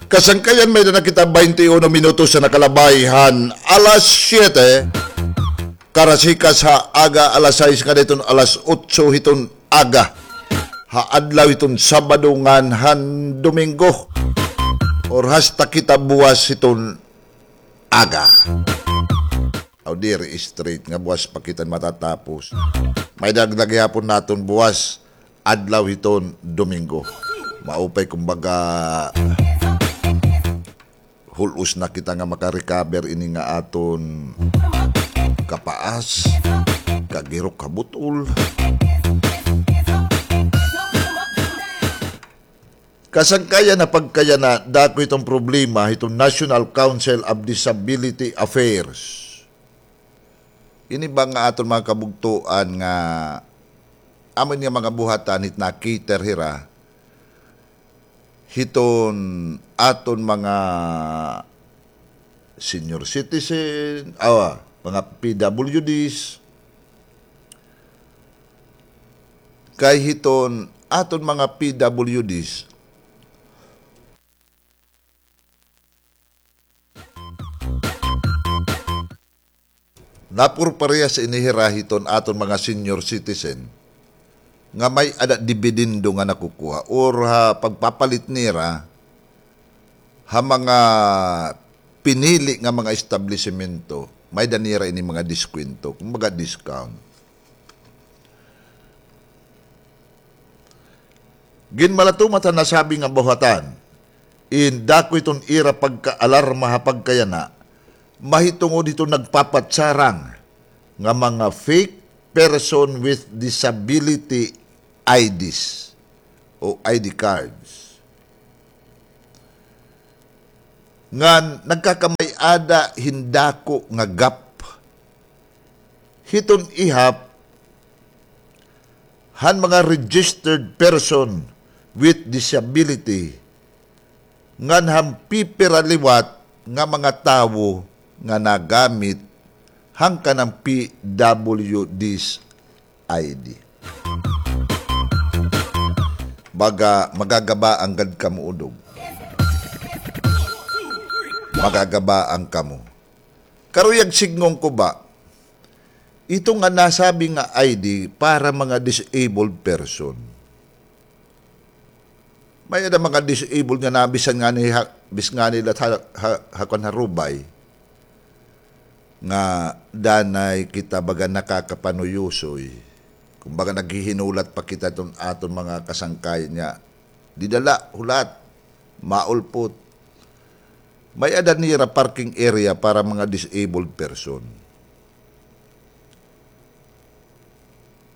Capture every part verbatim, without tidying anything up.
Kasangkayan, may-ada na kita baynte uno minutos na nakalabay han alas siyete. Karasikas ha aga, alas sais ngada hiton alas otso hiton aga. Ha adlaw hiton Sabado ngan han Domingo. Or hasta kita buwas hiton aga. Aw, diri straight nga buwas pa kita matatapos. May dagdag gihapon naton buwas, adlaw hiton Domingo. Maupay, kumbaga, hul-os na kita nga maka-recover ini nga aton kapaas, kagirok ha butol. Kasangkayan, ha pagkayana, dako hiton problema hiton National Council of Disability Affairs. Ini ba nga aton mga kabugtoan nga amo ini nga mga buhatan hit na-cater hira hiton aton mga senior citizen, awa, mga P W Ds, kay hiton aton mga P W Ds, napurparehas ini hira hiton aton mga senior citizen nga may-ada dibidendo nga nakukuha or ha pagpapalit nira ha mga pinili nga mga establisemento, may-ada nira ini mga diskwento, kumbaga discount. Ginmalatumat han nasabi nga buhatan, in dako hiton ira pagkaalarma ha pagkayana, mahitungod hiton nagpapatsarang nga mga fake person with disability I Ds o I D cards. Ngan nagkakamay-ada hin dako nga gap hiton ihap han mga registered person with disability ngan han pipira liwat nga mga tawo nga nagamit han kanan P W Ds I D. Baga magagabaan gad kamo, udog. Magagabaan kamo. Karuyag sidngon ko ba, ito nga nasabi nga I D para mga disabled person. May-ada mga disabled nga na bisan ngani ha, bis ngani la ha, ha, ha kuan, ha Rubay, nga danay kita baga nakakapanuyusoy. Kumbaga, naghihinulat pa kita hiton aton mga kasangkayan nga dida la, hulat, maulpot. May-ada nira parking area para mga disabled person.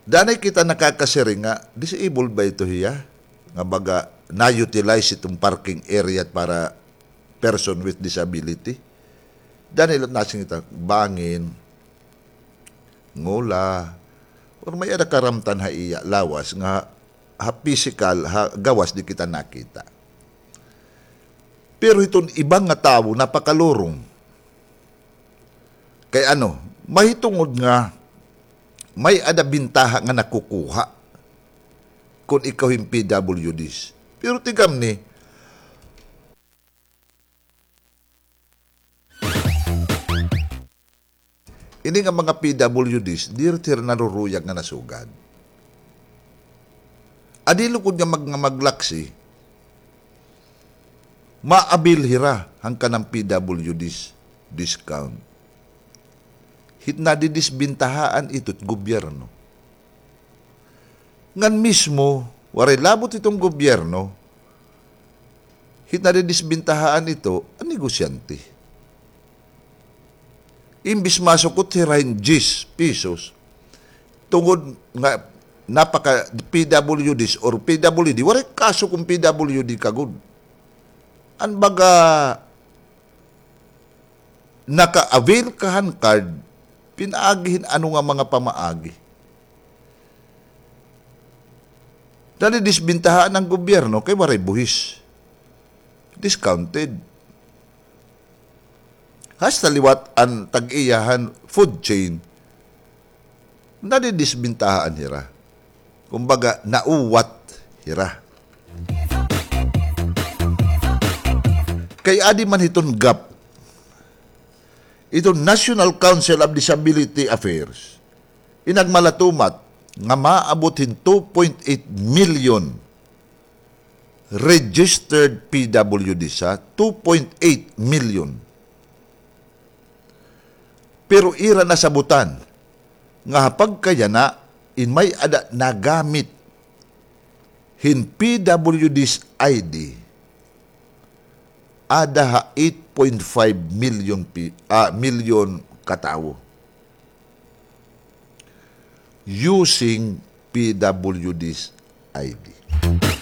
Danay kita nakakasiring nga, disabled ba ito hiya? Nga baga, na-utilize iton parking area para person with disability. Danay la nasiring kita, bangin, ngula, or may-ada karamtan ha iya lawas nga ha pisikal, ha gawas di kita nakita. Pero hiton iba nga tawo, napakalurong. Kay ano, mahitungod nga may-ada bintaha nga nakukuha kon ikaw hin P W Ds. Pero tigamni, ini nga mga P W Ds, diri hira naruruyag nga nasugad. Adi lugod nga mag-, nga maglaksi, ma-avail hira han kanan P W Ds discount. Hit nadidisbintahaan ito it gobyerno. Ngan mismo, waray labot iton gobyerno, hit nadidisbintahaan ito an negosyante. Imbis masukot hira hin diyes pesos, tungod nga napaka-P W Ds or P W D, waray kasukon P W D kagod. An baga naka-avail ka han card, pinaagi hin ano nga mga pamaagi. Nadidisbintahaan an gobyerno kay waray buhis. Discounted. Hasta liwat an tag-iya han food chain, nadidisbintahaan hira. Kumbaga, nauwat hira. Kay adi man hiton gap, iton National Council of Disability Affairs, inagmalatumat nga maabot hin two point eight million registered P W Ds, ha, two point eight million. Pero ira nasabutan nga ha pagkayana, in may-ada nagamit hin P W Ds I D, ada ha eight point five million pi-, ah, million ka tawo using P W Ds I D.